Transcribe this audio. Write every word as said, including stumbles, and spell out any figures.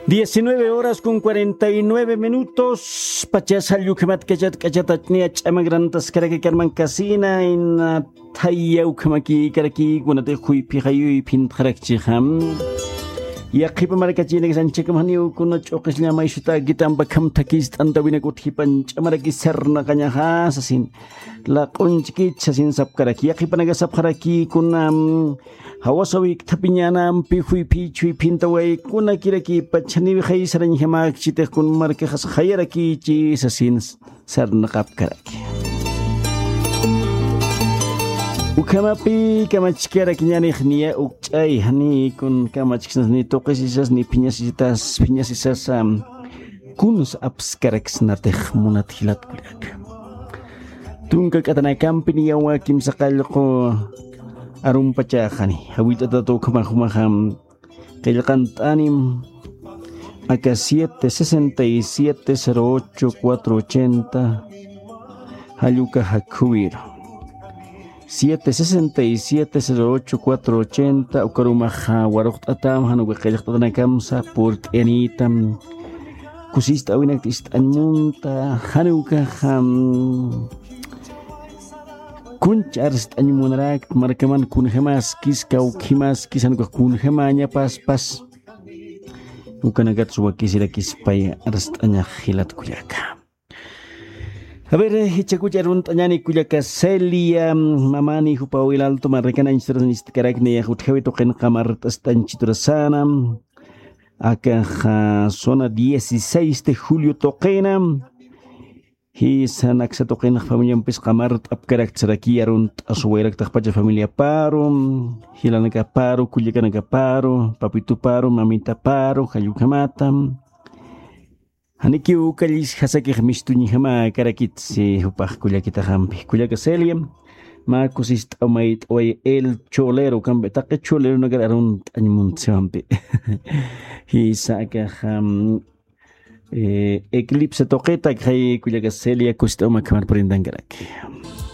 Diecinueve horas con cuarenta y nueve minutos. Pachas jall ukhamat kachat kachat achniya ch'amagrantaskaraki karman kasina ina thaya ukhamakïkaraki kunatix juyphi jayuyphi intxarakchixa. Yaqhipa markachinakis anchhakam janiw kuna ch'uqisllama ishutäkita ampakham thakist'antawinakut jipan ch'amaraki sarnaqañaxa sasin. Laq'unchkit sasin sapkaraki yaqhipanaka sapxaraki kunam. Jawasa wikthapiñanampi juyphich juyphintawaykuna kirakipa chhaniwi jaysarañjamäkchitix kun markaxas jayarakichi sasin sarnaqapkaraki. Ukhamapi kamachkarakiñanix niya ukch'ay jani kun kamachksnas ni tuqisisas ni phiñasisitas phiñasisasa. Kuns apskaraksnatix munat jilat kullaka. Tunka k'atanakampi niyawa kimsa qallqu arumpachaxani jawillt'atat ukhamax jumaxa. Qillqant'anim aka siete sesenta y siete cero ocho cuatro ochenta. Jalluka jakhuwiru siete sesenta y siete cero ocho cuatro ochenta ukarumaxa waruqt'atam januka qillqt'atanakamsa purt'iyanitam. Kusist'awinakta ist'añ munta janukaxam. Kunch arst'añ munarakt markaman kunjamaskis kawkhimaskis janukax kunjamañapaspas. Ukanakatsu wakisirakispay arst'añax jilat kullaka. A ver, ichakuch arunt'añani kullaka Celia mamani jupa wilaltu marrakanañchiturasan istkarakni yaq utjawi tuqin qamart'ast'añchiturasana. Akaxa zona dieciséis de julio tuqina. Jisa naksa tuqinax familiampis qamart'apkaraktsaraki arunt'asuwayraktaxpacha familiaparu jilanakaparu kullakanakaparu papituparu mamitaparu jallukhamata. Janikiw ukallis jasakix mistuñjama karakitsi jupax kullakitaxampi kullaka Celia. Mä kusist'aw mayt'away el cholero kampi taqi choleronakar arunt'añ muntsiwampi. Jisa akaxam eclipse tuqita akxay kullaka Celia kusist'aw makhamar purintankaraki.